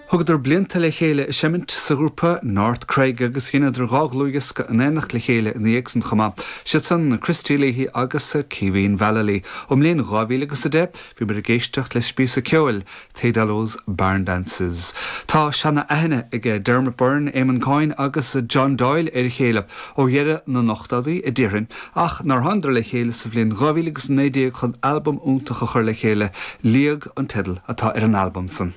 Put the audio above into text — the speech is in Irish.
Thugadar blianta le chéile ag seimint sa ghrúpa North Cregg agus dheineadar 2 dhlúthdhiosca in éineacht le chéile ina dhiaidh san chomh maith. Siad san Christy Leahy agus Caoimhín Vallely. Ón mbliain 2010 bhíomar ag éisteacht leis bpíosa ceoil Thedalo's Barn Dances. Tá seana-aithne ag Dermot Byrne, Eamon Coyne agus John Doyle ar a chéile ó dheireadh na n-ochtóidí, a déarfainn, ach nár thánadar le chéile sa bhliain 2019 chun albam iontach a chur le chéile, Liag an teideal atá ar an albam san.